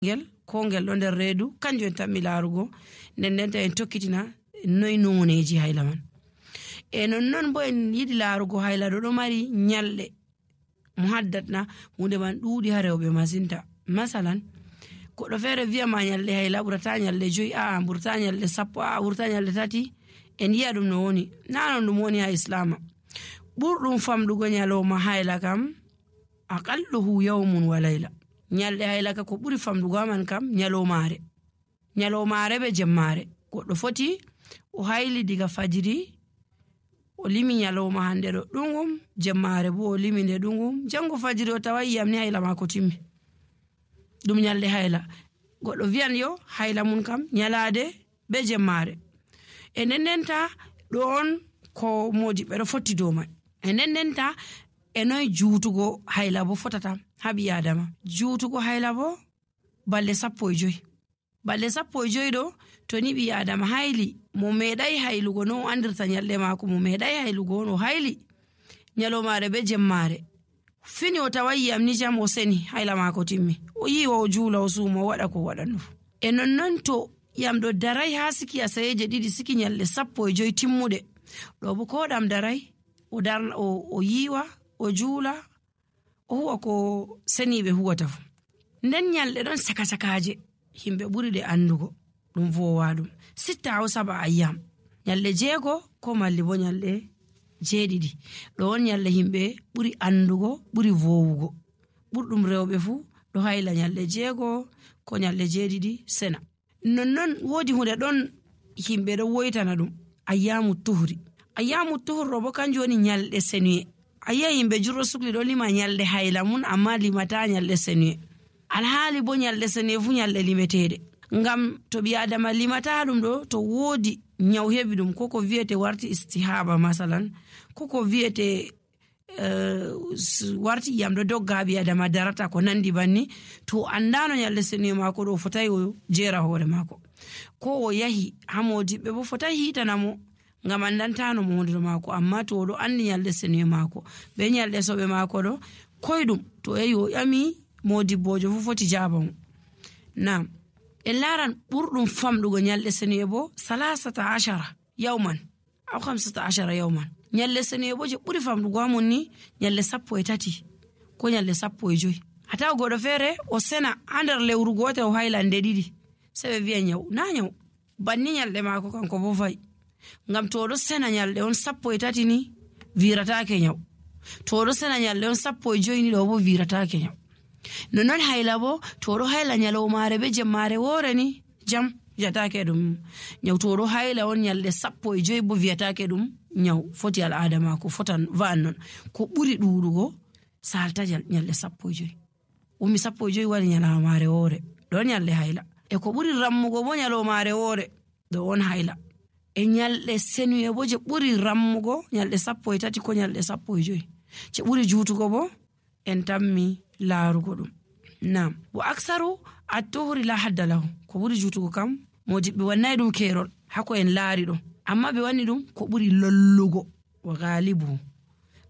ngel ko ngel ɗo nder reedu kanjum en tammi laarugo nden en tokkitina noy noneji hayla man. Non bo en yiɗi laarugo hayla ɗo mari nyalɗe mo haddatna hunde man ɗuuɗi ha rewɓe masinta. Masalan goɗɗo feere wi'a ma nyalɗe hayla ɓurata nyalɗe 5, ɓurata nyalɗe 10, ɓurata nyalɗe 3. En yi'a ɗum no woni na non ɗum woni ha islama. Ɓurɗum famɗugo nyaloma hayla kam aqalluhu yawmun wa layla. Nyalɗe hayla ka ko ɓuri famɗugo man kam nyalomare be jemmare. Goɗɗo foti o hayli diga fajiri o limi nyaloma hande ɗo ɗungum, jemmare bo o limi nde ɗungum, jango fajiri o tawa yiyam ni hayla mako timmi. Ɗum nyalɗe hayla. Goɗɗo wiyan yo hayla mun kam nyalade be jemmare. Nennenta ɗon ko modiɓɓe ɗo fotti dow man. Nennenta noy juutugo hayla bo fotata ha ɓi adama. Juutugo hayla bo balɗe 15. Balɗe 15 ɗo to ni ɓi adama hayli mo meeɗai haylugo no andirta nyalɗe mako, mo meeɗai haylugo no hayli nyalomare be jemmare, fini o tawayi yam ni jam o seni hayla mako timmi, o yiwa o juula o suuma o waɗa ko waɗanno. Non to yam ɗo darai ha siki asayeje 2 siki nyalɗe 15 timmuɗe ɗo bo ko ɗam darai o yiwa o juula o huwa ko seniɓe huwata fu. Nden nyalɗe ɗon saka-sakaje himɓe ɓuri ɗe andugo ɗum vowa ɗum 6 aw 7 ayyam. Nyalɗe 6 ko malli bo nyalɗe 7 ɗo on nyalɗe himɓe ɓuri andugo ɓuri vowugo. Ɓurɗum rewɓe fu ɗo hayla nyalɗe 6 ko nyalɗe 7 sena. Non wodi hunde ɗon himɓe ɗo woytana ɗum ayyamu tuhri. Ayyamu tuhur ɗo bo kanjum woni nyalɗe senuye. Ayya himɓe jurɗo sukli ɗo lima nyalɗe hayla mun amma limata nyalɗe senuye. Alhaali bo nyalɗe senuye fu nyalɗe limeteɗe. Ngam to ɓi adama limata ɗum ɗo to wodi nyaw heɓi ɗum ko wiyete warti istihaba masalan ko wiyete warti iyam ɗo dogga ɓi adama darata ko nandi banni, to andano nyalɗe senuye mako ɗo fotai o jera hoore mako, ko o yahi ha modiɓɓe bo fotai hitanamo ngam andantano mo hunde mako. Amma to oɗo andi nyalɗe senuye mako be nyalɗe soɓe mako ɗo koydum to yahi o ƴami modibbojo fu foti jaba mo. Nam en laran ɓurɗum famɗugo nyalɗe senuye bo 13 yawman aw 15 yawman. Nyalɗe senuye bo je ɓuri famɗugo amon ni nyalɗe 13 ko nyalɗe 15. Hata goɗɗo feere o sena ha nder lewru gotel o hayla nde 2 sai ɓe wiya nyaw na nyaw banni nyalɗe mako kanko bo fayi. Ngam to oɗo sena nyalɗe on 13 ni viratake nyaw, to oɗo sena nyalɗe on 15 ni ɗo bo viratake nyaw. Non hayla bo to oɗo hayla nyalomare be jemmare woore ni jam viyatake ɗum nyaw. To oɗo hayla on nyalɗe 15 bo viyatake ɗum nyaw, foti al'ada mako fotan va'an non. Ko ɓuri ɗuɗugo salta nyalɗe 15. Umi 15 wari nyalomare woore ɗon nyalɗe hayla. Ko ɓuri rammugo bo nyalomare woore ɗo on hayla. Nyalɗe senuye bo je ɓuri rammugo nyalɗe 13 ko nyalɗe 15. Je ɓuri juutugo bo en tammi laarugo ɗum. Nam bo aksaru at-tuhri la hadda lahu. Ko ɓuri juutugo kam modiɓɓe wannai ɗum kerol hako en laari ɗo, amma ɓe wanni ɗum ko ɓuri lollugo wa galibu.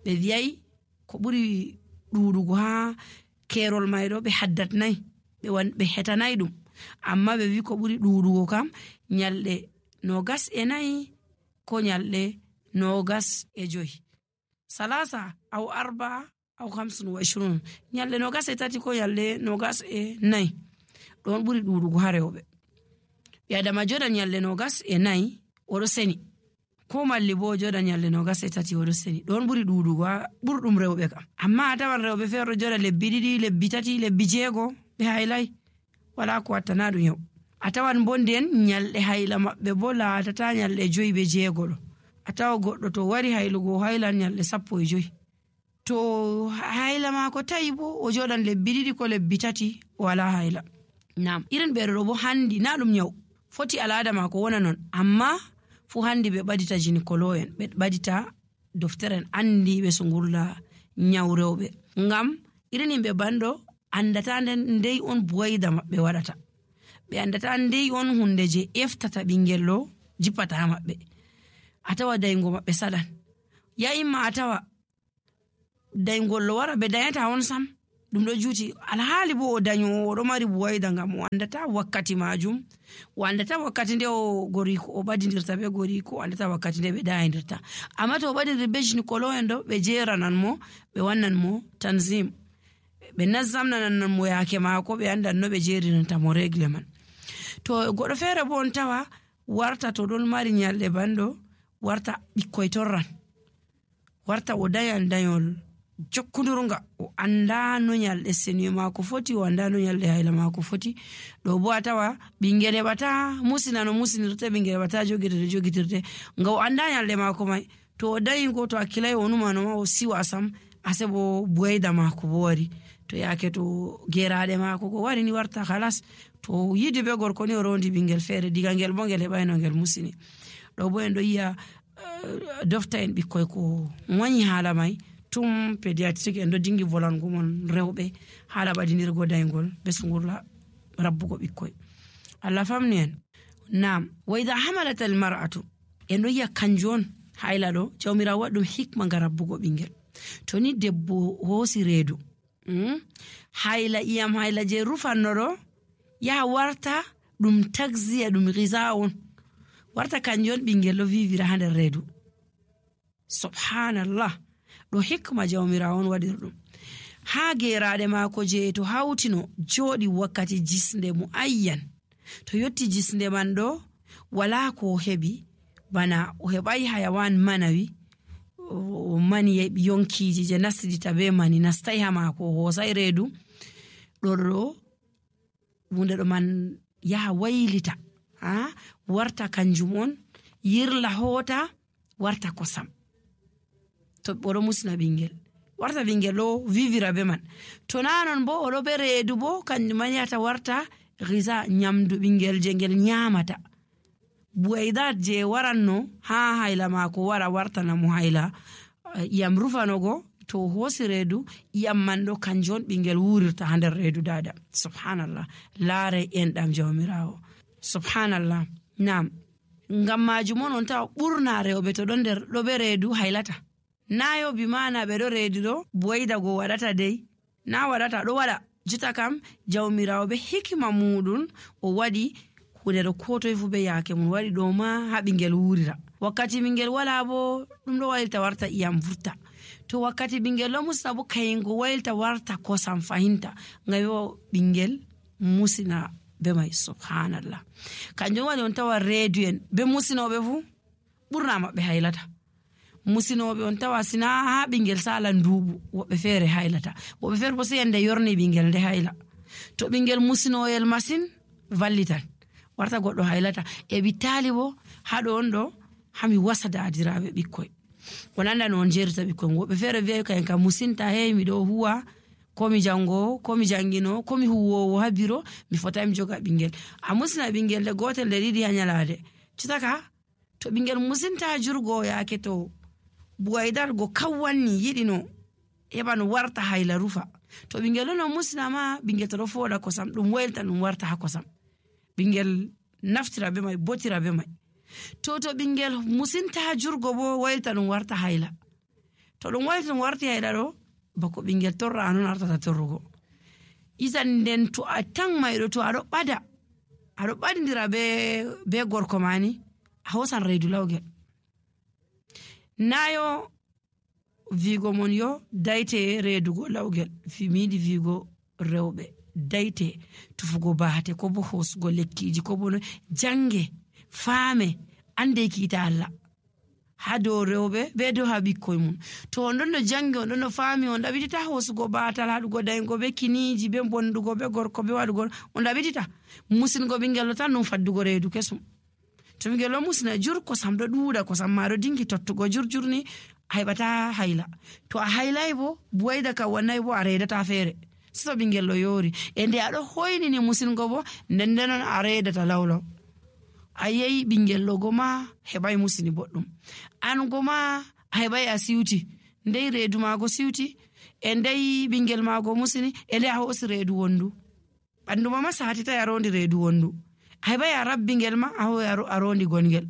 Ɓe wiyai ko ɓuri ɗuɗugo ha kerol mai ɗo ɓe haddatnai ɓe hetanai ɗum, amma ɓe wi ko ɓuri ɗuɗugo kam nyalɗe 24 ko nyalɗe 25. 3 aw 4 aw 25 nyalɗe 23 ko nyalɗe 24 ɗon ɓuri ɗuɗugo ha rewɓe. Ɓi adama joɗa nyalɗe 24 oɗo seni, ko malli bo joɗa nyalɗe 23 oɗo seni, ɗon ɓuri ɗuɗugo ha ɓurɗum rewɓe kam. Amma a tawan rewɓe feere joɗa lebbi 2, lebbi 3, lebbi 6 ɓe haylai wala ko wattana ɗum yaw. A tawan bo nden nyalɗe hayla maɓɓe bo laatata nyalɗe 5 be 6 ɗo. A tawa goɗɗo to wari haylugo o haylan nyalɗe 15. To hayla mako tawi bo o joɗan lebbi 2 ko lebbi 3 wala hayla. Nam irin ɓeɗo ɗo bo handi na ɗum nyaw, foti al'ada mako wona non, amma fu handi ɓe ɓadita gynécologue en, ɓe ɓadita docteur en andiɓe sungurla nyaw rewɓe. Ngam irin himɓe banɗo andata ndey on buwayda maɓɓe waɗata, ɓe andata ndey on hunde je eftata ɓingel ɗo jippata ha maɓɓe. A tawa daygo maɓɓe saɗan, ya imma a tawa daygol lo wara ɓe dayata on sam, ɗum ɗo juuti alhaali bo o daño oɗo mari buwayda ngam o andata wakkati majum, o andata wakkati nde o goriko o ɓadidirta be goriko, o andata wakkati nde ɓe ɗayidirta. Amma to o ɓadiri be gynécologue en ɗo ɓe jeranan mo, ɓe wannan mo tanzim, ɓe nazzamnanan mo yake mako, ɓe andan no ɓe jerinanta mo regle man. To goɗɗo feere bo on tawa warta to ɗon mari nyalɗe banɗo, warta ɓikkoy torran, warta o dayan dayol jokkudurunga, o anda no nyalɗe seniyo mako foti, o anda no nyalɗe hayla mako foti. ɗo bo a tawa ɓingel heɓata musina no musinirte, ɓingel heɓata jogitirde nga o anda nyalɗe mako mai. To o dayi ko to hakkilai o numano ma o siwa sam, ase bo buwayda mako bo wari. To yake to geraɗe mako ko wari ni warta halas, to yidi be gorko ni o rondi ɓingel feere, diga ngel bo ngel heɓayno ngel musini. ɗo bo en ɗo yiya dofta en ɓikkoy ko wañi haala mai tum pédiatrique en ɗo dingi volango mon rewɓe haala ɓadinirgo daygol be sungurla rabbugo ɓikkoy. Allah famni en. Nam wa idha hamalat al mar'atu, en ɗo yiya kanjum on hayla ɗo jawmirawo waɗi ɗum hikma nga rabbugo ɓingel. To ni debbo hoosi reedu, hayla iyam hayla je rufanno ɗo yaha warta ɗum taxiya, ɗum ghiza on, warta kanjum on ɓingel ɗo vivira ha nder reedu. Subhanallah, ɗo hikma jawmirawo on waɗir ɗum. Ha geraɗe mako je to hawtino joɗi wakkati jisnde muayyan, to yotti jisnde man ɗo wala ko o heɓi, bana o heɓai hayawan manawi, o mani yonkiji je nastidita be mani nastai ha mako, o hosai reedu ɗo hunde ɗo man yaha waylita, warta kanjum on yirla hota warta kosam. To oɗo musina ɓingel, warta ɓingel ɗo vivira be man. To nanon bo oɗo be reedu bo kanjum man yata warta ghiza, nyamdu ɓingel je ngel nyamata. buwaydat je waranno ha hayla mako wara wartana mo hayla iyam rufanogo, to hosi reedu iyam man ɗo kanjum on ɓingel wurirta ha nder reedu dada. Subhanallah, laare enɗam jawmirawo. Subhanallah. Nam ngam majum on tawa ɓurna rewɓe to ɗon nder ɗo be reedu haylata. Nayo bi mana ɓe ɗo reedu ɗo buwayda go waɗata dey, na waɗata, ɗo waɗa. Juta kam jawmirawo be hikima muɗum o waɗi hunde ɗo ko toye fu be yake mum waɗi ɗo ma ha ɓingel wurira. Wakkati ɓingel wala bo ɗum ɗo waylta warta iyam vurta. To wakkati ɓingel ɗo musina bo kayingo waylta warta kosam fahinta, ngam yo ɓingel musina be mai. Subhanallah. Kanjum waɗi on tawa reedu en be musinoɓe fu ɓurna maɓɓe haylata. Musinoɓe on tawa sina ha ɓingel sala ndubu, woɓɓe feere haylata, woɓɓe feere bo sai yande yorni ɓingel nde hayla. To ɓingel musinoyel masin vallitan, warta goɗɗo haylata. E bitali bo haɗo on ɗo hami wasa dadiraɓe ɓikkoy, on anda no on jerita ɓikkoy. Woɓɓe feere wi'ay kayen ka musinta, hey miɗo huwa, ko mi jango, ko mi jangino, ko mi huwowo ha biro, mi fotai mi joga ɓingel. A musina ɓingel de gotel de ɗiɗi ha nyalade, citaka to ɓingel musinta jurgo yake to buwaydar go kawwanni yiɗi no heɓa no warta hayla rufa. To ɓingel no musina ma ɓingel to ɗo foɗa kosam ɗum waylta ɗum warta ha kosam, ɓingel naftira be mai, botira be mai. To ɓingel musinta jurgo bo waylta ɗum warta hayla. To ɗum waylta ɗum warti hayla ɗo bako ɓingel torra anon artata torrugo. Isan nden to a tan mayɗo to aɗo ɓadindira be gorko mani, a hosan reedu lawgel. Nayo vigo mon yo dayte reedugo lawgel, miyiɗi vigo rewɓe dayte tufugo baate, ko bo hosugo lekkiji, ko bo jange faame ande kiita Allah ha dow rewɓe be dow ha ɓikkoy mum. To on ɗon no jangi, on ɗon no faami, on ɗaɓitita hosugo baatal, haɗugo daygo be kiniji, be bondugo be gorko, be waɗugo, on ɗaɓitita. Musingo ɓingel ɗo tan ɗum faddugo reedu kesum. To ɓingel ɗo musina jur, kosam ɗo ɗuuɗa, kosam ma ɗo dingi tottugo jurjurni, a heɓata hayla. To a haylay bo buwayda ka wannay bo a reedata feere. So ɓingel ɗo yoori, e nde aɗo hoynini musingo bo nden ndenon a reedata lawlaw. A yehi ɓingel ɗo goma heɓai musini boɗɗum, an goma a heɓai a siwti, ndey reedu maago siwti, e ndey ɓingel maago musini, e nde a hosi reedu wondu. Ɓanduma ma satita a rondi reedu wondu, a heɓai a rabbi ngel ma a rondi gongel.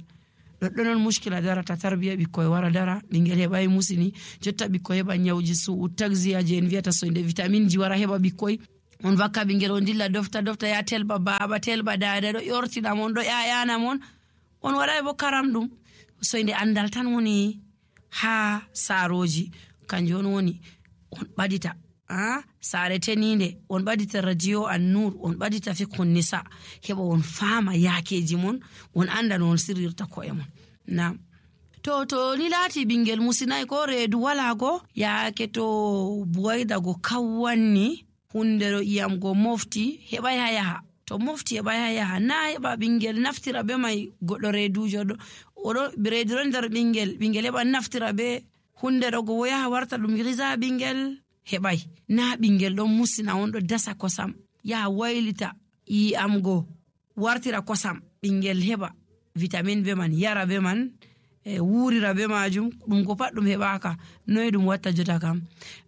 ɗoɗɗo non muskila darata tarbiya ɓikkoy wara dara ɓingel heɓai musini jotta ɓikkoy heɓa nyawji taxia je en wiyata soyde vitamine ji wara heɓa ɓikkoy on vakka ɓingel on dilla dofta ya telba baba telba dada ɗo yortina mon ɗo ƴaƴana mon on waɗai bo karam ɗum soyde andal tan woni ha saroji kanjum on woni on ɓadita saare teninde on ɓadita radio an-nur on ɓadita fiqhun nisa heɓa on faama yakeji mon on anda no on sirrirta ko'e mon. Nam to ni laati ɓingel musinai ko reedu wala go yaake to buwayda go kawwanni hunde ɗo iyam go mofti heɓai ha yaha to mofti heɓai ha yaha na heɓa ɓingel naftira be mai goɗɗo reedujo ɗo oɗo reedu ɗon nder ɓingel heɓa naftira be hunde ɗo go yaha warta ɗum risa ɓingel heɓai na ɓingel ɗon musina on ɗo dasa kosam yaha waylita iyam go wartira kosam ɓingel heɓa vitamine be man yara be man wurira be majum ɗum ko pat ɗum heɓaka noy ɗum watta jota kam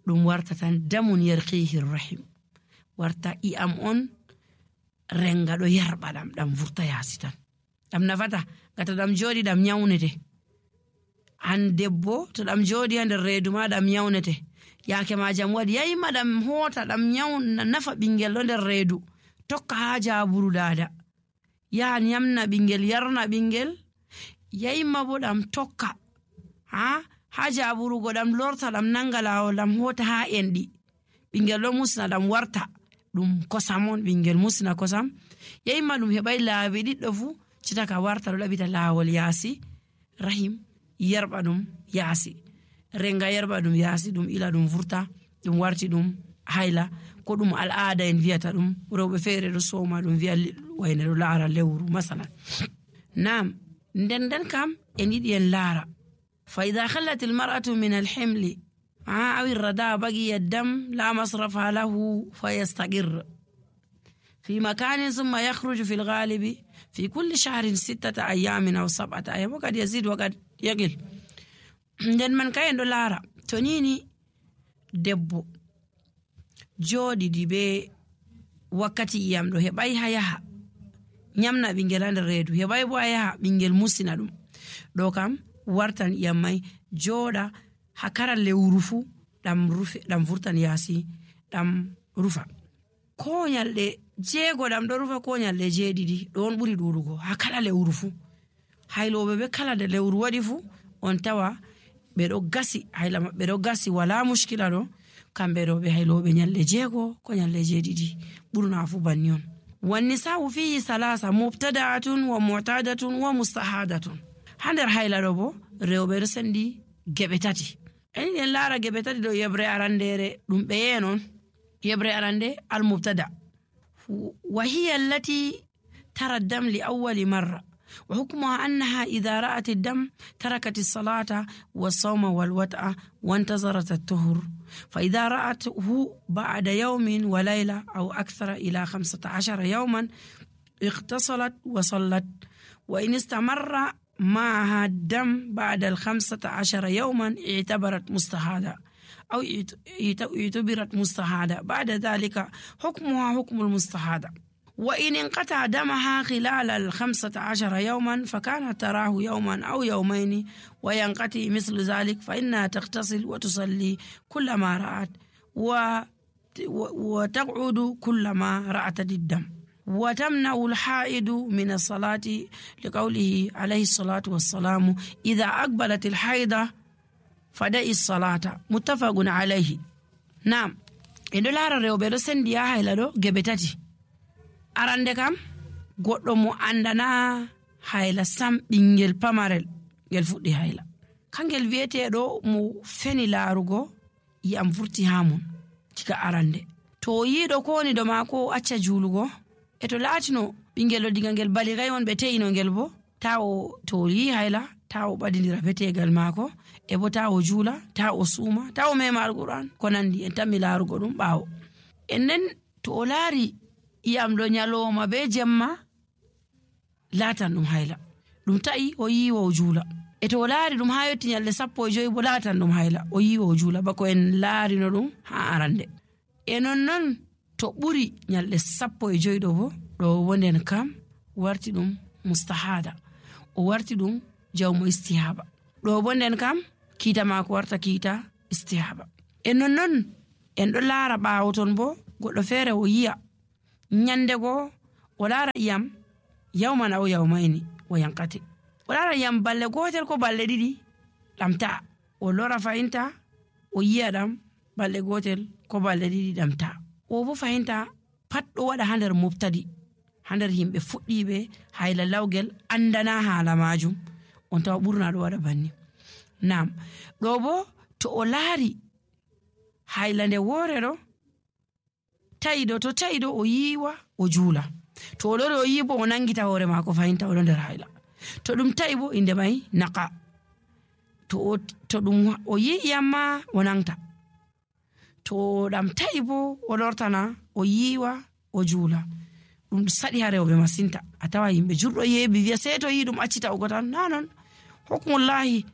ɗum warta tan damun yarqihi rahim warta iyam on renga ɗo yarɓa ɗam vurta yasi tan ɗam nafata gata ɗam joɗi ɗam nyawnete han debbo to ɗam joɗi ha nder reedu ma ɗam nyawnete yake ma jam waɗi yayima ɗam hota ɗam nyawna nafa ɓingel ɗo nder reedu tokka ha jaburu dada yaha nyamna ɓingel yarna ɓingel yayima bo ɗam tokka ha jaburugo ɗam lorta ɗam nanga lawol ɗam hota ha enɗi ɓingel ɗo musna ɗam warta ɗum kosam on ɓingel musna kosam yayima ɗum heɓai laabi ɗiɗɗo fu citaka warta ɗo ɗaɓita lawol yaasi rahim yarɓa ɗum yaasi renga yarɓa ɗum yaasi ɗum ila ɗum vurta ɗum warti ɗum hayla ko ɗum al'ada en wiyata ɗum rewɓe feere ɗo soma ɗum wiya wayne ɗo laara lewru masalan. Nam nden kam en yiɗi en laara fa ida khallat almar'atu min alhimli aw irrada bagiya dam la masrafa lahu fayastaqir في مكان ثم يخرج في الغالب في كل شهر 6 أيام أو 7 أيام وقد يزيد وقد يقل. nden man kayen ɗo laara to nini debbo jooɗiɗi be wakkati iyam ɗo heɓai ha yaha nyamna ɓingel ha nder reedu heɓai bo ha yaha ɓingel musina ɗum ɗo kam wartan iyam mai jooɗa ha kala lewru fu ɗam vurtan yaasi ɗam rufa ko nyalɗe 6 ɗam ɗo rufa ko nyalɗe 7 ɗo on ɓuri ɗuɗugo ha kala lewru fu hayloɓe be kala de lewru waɗi fu on tawa ɓe ɗo gasi hayla maɓɓe ɗo gasi wala muskila ɗo kamɓe ɗo ɓe hayloɓe nyalɗe 6 ko nyalɗe 7 ɓurna fu banni on. والنساء فيه 3 مبتدعة ومعتادة ومستحادة ha nder hayla ɗo bo rewɓe ɗo sendi geɓe tati en laara geɓe tati ɗo yebre arandere ɗum ɓeye non yebre arande almubtada wa hiya allati tara dam li awwali marra وحكمها أنها إذا رأت الدم تركت الصلاة والصوم والوطأ وانتظرت الطهر فإذا رأته بعد يوم وليلة أو أكثر إلى 15 يوما اغتسلت وصلت وإن استمر معها الدم بعد 15 يوما اعتبرت مستحاضة أو اعتبرت مستحاضة بعد ذلك حكمها حكم المستحاضة وإن انقطع دمها خلال 15 يوما فكانت تراه يوما أو يومين وينقطع مثل ذلك فإنها تغتسل وتصلي كلما رأت وتقعد كلما رأت الدم وتمنع الحائض من الصلاة لقوله عليه الصلاة والسلام إذا أقبلت الحيضة فدعي الصلاة متفق عليه. نعم إن دولار ريوبيرو سنديا هيلادو جبتاتي arande kam goɗɗo mo andana hayla sam ɓingel pamarel ngel fuɗɗi hayla kangel wiyeteɗo mo feni laarugo yiyam vurti ha mon diga arande to yiɗo ko woni do maako acca juulugo e to laatino ɓingel ɗo diga ngel baligai on ɓe te'ino ngel bo ta o to yi hayla ta o ɓadindira betegal maako e bo ta o juula ta o suuma ta o mema alquran ko nandi en tammi laarugo ɗum ɓaawo en nden to o laari iyam ɗo nyaloma be jemma latan ɗum hayla ɗum ta'i o yiwo o juula e to o laari ɗum ha yotti nyalde 15 bo latan ɗum hayla o yiwo o juula bako en laarino ɗum ha arande e non to ɓuri nyalde 15 ɗo bo ɗo wonden kam warti ɗum mustahada o warti ɗum jawmo istihaba ɗo bo nden kam kiita maako warta kiita istihaba. E non en ɗo laara ɓaawo ton bo goɗɗo feere o yi'a nyande go o laara iyam yawmana o yawmayni o yankati, o laara iyam balle gotel ko balle ɗiɗi ɗamta, o lora fahinta o yi'a ɗam balle gotel ko balle ɗiɗi ɗamta. o bo fahinta pat ɗo waɗa ha nder mubtadi, ha nder yimɓe fuɗɗiɓe hayla lawgel andana haala majum, on tawa ɓurna ɗo waɗa banni. Nam ɗo bo to o laari hayla nde wore ɗo ta'iɗo, to ta'iɗo o yiwa o juula, to o lori o yi bo o nangita hoore maako fahinta oɗo nder hayla. To ɗum ta'i bo inde mai naqa, to ɗum o yi iyamma o nangta, to ɗam ta'i bo o lortana o yiwa o juula. ɗum saɗi ha rewɓe masinta, a tawa yimɓe jurɗo yeebi wiya sei to yi ɗum accita o gotan, nanon hukmullahi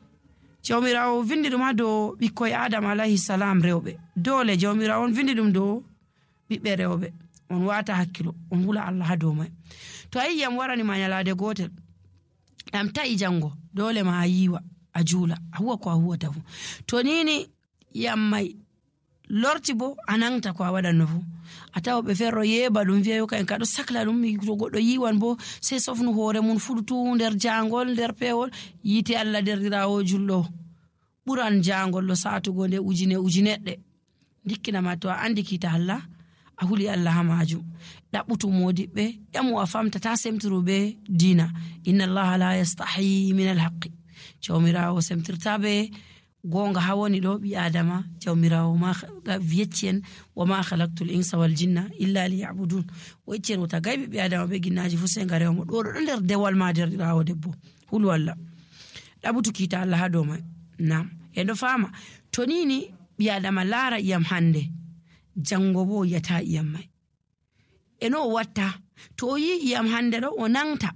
jawmirawo vindi ɗum ha dow ɓikkoye adama alayhi salam rewɓe, dole jawmirawo on vindi ɗum dow ɓiɓɓe rewɓe, on wata hakkilo on hula Allah ha dow mai. To a yiyam warani ma nyalade gotel ɗam ta'i jango dole ma a yiwa a juula a huwa ko a huwata fu. To nini yam mai lorti bo a nangta ko a waɗanno fu. A tawa ɓe ferro yeeba ɗum wiya yo ka en kaɗo sakla ɗum, to goɗɗo yiwan bo sei sofnu hoore mun fuɗutu nder jangol nder pewol. Yite Allah derɗirawo julɗo ɓuran jangol ɗo satugo nde ujineɗɗe. Dikkinama to a andi kiita Allah a huli Allah ha majum, ɗaɓɓutu modiɓɓe ƴamu a famta ta semtiru be dina. Inna Allah la yastahi min alhaqqi, jawmirawo semtirta be gonga ha woni ɗo ɓi adama. Jawmirawo ma yeccien wa ma khalaqtul insa wal jinna illa liya'budun, o yeccien wota gayɓe ɓi adama be ginnaji fu sai nga rewmo. ɗo ɗo nder dewal ma derɗirawo debbo, hulu Allah ɗaɓɓutu kiita Allah ha dow mai. Nam en ɗo fama to nini ɓi adama laara iyam hande jango bo yata iyam mai, eno o watta to o yi iyam hande ɗo o nangta,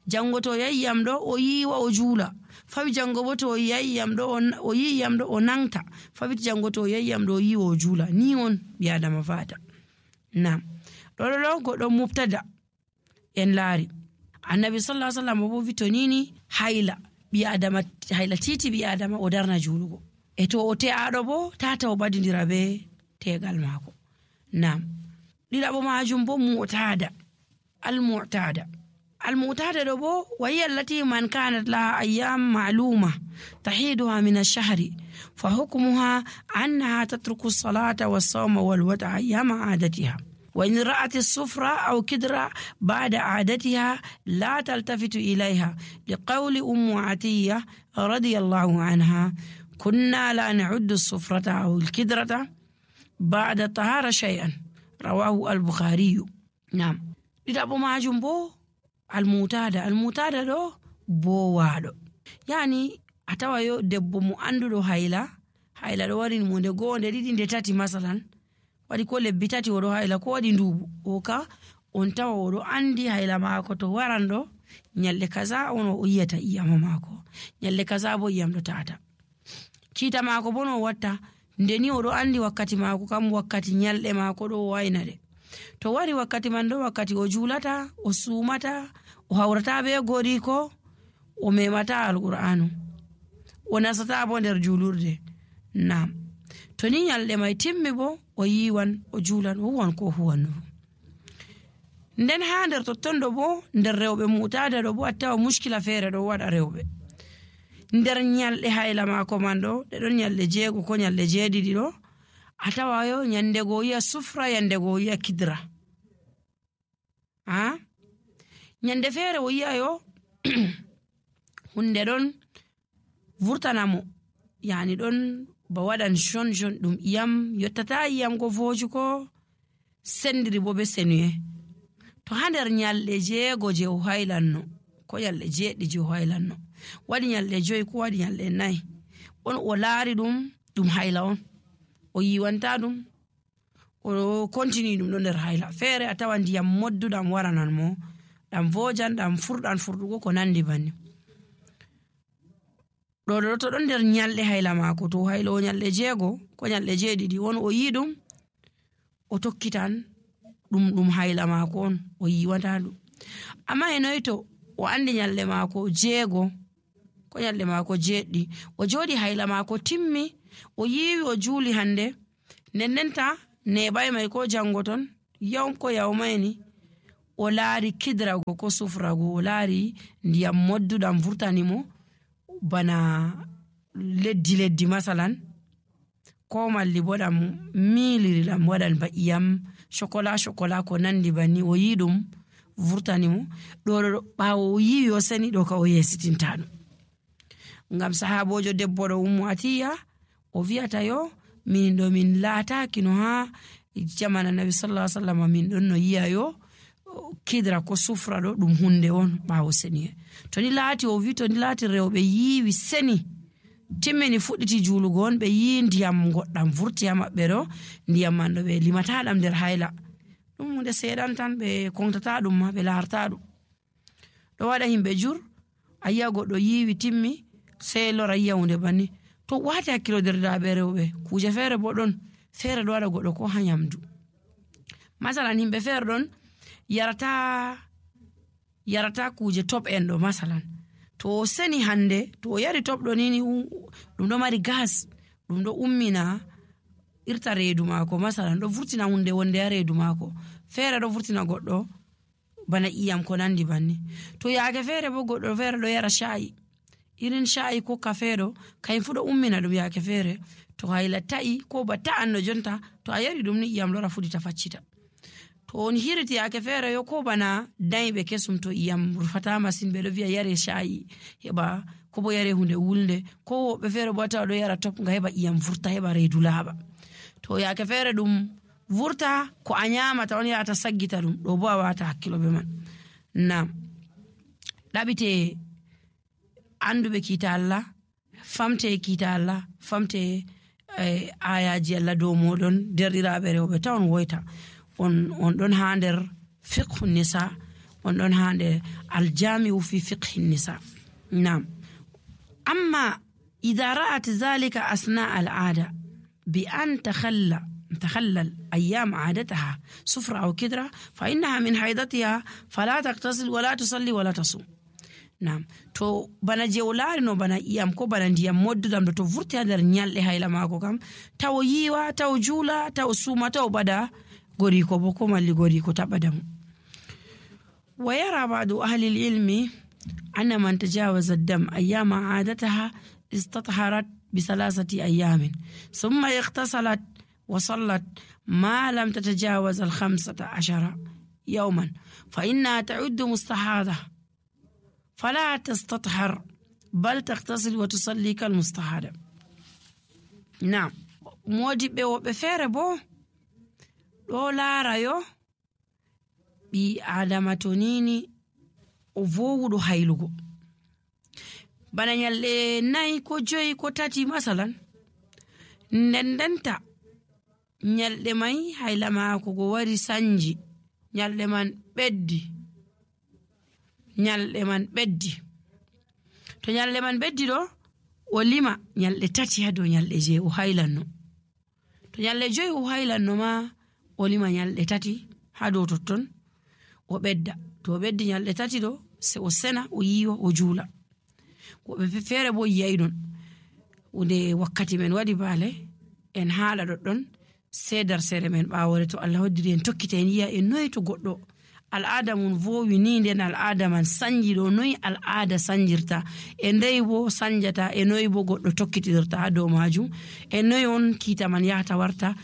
jango to yayi iyam ɗo o yiwa o juula, fawi jango bo to yayi iyam ɗo o yi iyam ɗo o nangta, fawi jango to yayi iyam ɗo o yiwa o juula. Ni on ɓi adama fata. Nam ɗo goɗɗo mubtada en laari annabi sallallahu alaihi wasallam bo vi to nini hayla ɓi adama, hayla titi ɓi adama o darna juulugo, e to o te'aɗo bo tata o ɓadidira be tegal maako. Nam ɗiɗaɓo majum bo mu'tada, المعتادة دو وهي التي من كانت لها أيام معلومة تحيدها من الشهر فحكمها أنها تترك الصلاة والصوم والوضع أيام عادتها، وإن رأت الصفرة أو كدرة بعد عادتها لا تلتفت إليها، لقول أم عتية رضي الله عنها كنا لا نعد الصفرة أو الكدرة بعد الطهارة شيئا، رواه البخاري. نعم ɗiɗaɓo majum bo almutada ɗo bowaɗo, yani a tawa yo debbo mo anduɗo hayla ɗo warini mo nde go'o nde ɗiɗi nde tati masalan, waɗi ko lebbi tati oɗo hayla ko waɗi ndubu, o ka on tawa oɗo andi hayla maako to waran ɗo nyalɗe kaza on o yiyata iyama maako, nyalɗe kaza bo iyam ɗo tata. Kiita maako bo no watta nde ni oɗo andi wakkati maako kam wakkati nyalɗe maako ɗo wayna de, to wari wakkati man ɗo wakkati o juulata o sumata o hawrata be goriko o memata alqur'anu o nasata bo nder julurde. Nam to ni nyalɗe mai timmi bo o yiwan o juulan o huwan ko huwanno. Nden ha nder totton ɗo bo nder rewɓe mutada ɗo bo a tawa muskila feere ɗo waɗa rewɓe nder nyalɗe hayla maako man ɗo ɗe ɗon nyalɗe 6 ko nyalɗe 7 ɗo a tawa yo nyande go yi'a sufra yande go yi'a kidra. Nyande feere o yi'a yo hunde ɗon vurtanamo, yani ɗon ba waɗan jon ɗum iyam yottata iyam ko voju ko sendiri bo be senuye. To ha nder nyalɗe 6 je o haylanno ko nyalɗe 7 je o haylanno waɗi nyalɗe 5 ko waɗi nyalɗe 4 on o laari ɗum hayla on o yiwanta ɗum o continue ɗum ɗo nder hayla feere a tawa ndiyam modduɗam waranan mo ɗam vojan ɗam furɗan furɗugo ko nandi banni. ɗo to ɗon nder nyalɗe hayla maako to hayla o nyalɗe 6 ko nyalɗe 7 on o yi ɗum o tokkitan ɗum hayla maako on o yiwanta ɗum. Amma e noy to o andi nyalɗe maako 6 ko nyalde maako jeeɗɗi o jooɗi hayla maako timmi o yiiwi o juuli hande nennenta neɓay may ko jango ton ko yawmayni o laari kidrago ko sufrago o laari ndiyam modduɗam vurtanimo bana leddi masalan ko malli bo ɗam miliri ɗam waɗan ba iyam chocolat ko nandi banni o yi ɗum vurtanimo ɗo ɓawo o yiwi o seni ɗo ka o yesitinta ɗum ngam sahabojo debbo ɗo Ummu Atiya o wi'ata yo min ɗo min laataki no ha jamana Nabi sallallahu alaihi wasallam min ɗon no yi'a yo kidra ko sufra ɗo ɗum hunde on ɓawo seni to ni laati o wi to ni laati rewɓe yiwi seni timmini fuɗɗiti juulugo on ɓe yi ndiyam goɗɗam vurti ha maɓɓe ɗo ndiyam man ɗo ɓe limata ɗam nder hayla ɗum hunde seeɗan tan ɓe kontata ɗum ma ɓe laarta ɗum ɗo waɗa himɓe jur a yi'a goɗɗo yiwi timmi sey lora yi'a hunde banni to wati hakkilo derdaɓe rewɓe kuje feere bo ɗon feere ɗo waɗa goɗɗo ko ha nyamdu masalan himɓe feere ɗon yarata kuje top en ɗo masalan to o seni hande to o yari top ɗo nini ɗum ɗo mari gas ɗum ɗo ummina irta reedu maako masalan ɗo vurtina hunde wonde ha reedu maako feere ɗo vurtina goɗɗo bana iyam ko nandi banni to yaake feere bo goɗɗo feere ɗo yara sha'i irin sha'i ko kafe ɗo kayin fu ɗo ummina ɗum yaake feere to hayla ta'i ko ba ta'anno jonta to a yari ɗum ni iyam lora fuɗita faccita to on hiriti yaake feere yo ko bana dayɓe kesum to iyam rufata masin ɓe ɗo wi'a yare sha'i heɓa ko bo yare hunde wulnde ko woɓɓe feere bo tawa ɗo yara top nga heɓa iyam vurta heɓa reedu laaɓa to yaake feere ɗum vurta ko a nyamata on yahata saggita ɗum ɗo bo a wata hakkilo be man nam ɗaɓite anduɓe kiita Allah famte kiita Allah famte ayaji Allah dow moɗon derɗiraɓe rewɓe tawon woyta on ɗon ha nder fiqhu nisa on ɗon ha nder aljami'u fi fiqhi nisa nam amma idha ra'at zalika asna al'ada bi an تخلل أيام عادتها سفرة أو كدرة فإنها من حيضتها فلا تغتسل ولا تصلي ولا تصوم نعم تو bana jewlaari no bana iyam ko bana ndiyam moddudam ɗo to vurti ha nder nyalɗe hayla maako kam taw yiwa taw juula taw suuma taw bada goriko bo ko malli goriko taɓadamu wa yara ba'du ahli al-ilmi anna man tajawaza ad-dam ayyama 'adataha istatharat bi 3 ayyamin thumma ightasalat وصلت ما لم تتجاوز 15 يوما فإنها تعد مستحاضة فلا تستطهر بل تغتسل وتصلي كالمستحاضة نعم مودي بفير بو دولا رايو بي آدماتونيني وفوضو هايلوغو بنا نيالي ناي كو جوي كو تاتي مثلا نندنتا nyalde mai hayla maako go wari sanji nyalde man beddi to nyalde man beddi do o lima nyalde tati ha do nyalde je o haylanno to nyalde joyi o haylanno ma o lima nyalde tati ha do totton o bedda to o beddi nyalde tati do se o sena o yiwa o juula ko be fere bo yi'ay don unde wakkati men wadi bale en haala doddon sedar sere men ɓawore to Allah hoddiri en tokkite en yi'a en noy to goɗɗo al'ada mun vowi ni nden al'ada man sanji ɗo noy al'ada sanjirta e ndey bo sanjata e noy bo goɗɗo tokkitirta ha dow majum e noy on kiita man yahata warta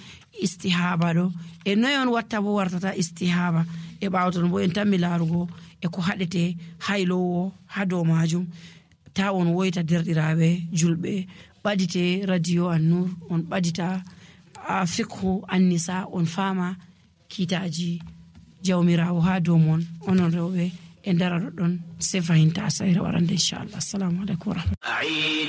istihaba ɗo e noy on watta bo wartata istihaba e ɓawton bo en tammi laarugo e ko haɗete haylowo ha dow majum ta on woyta derɗiraɓe julɓe ɓadite radio An-Nur on ɓadita fiqhu an-nisa on fama kitaji jawmirawo ha dow mon onon rewɓe e ndara ɗon se fahinta sayra warande inchallah assalamu aleykum wa rahmatullahi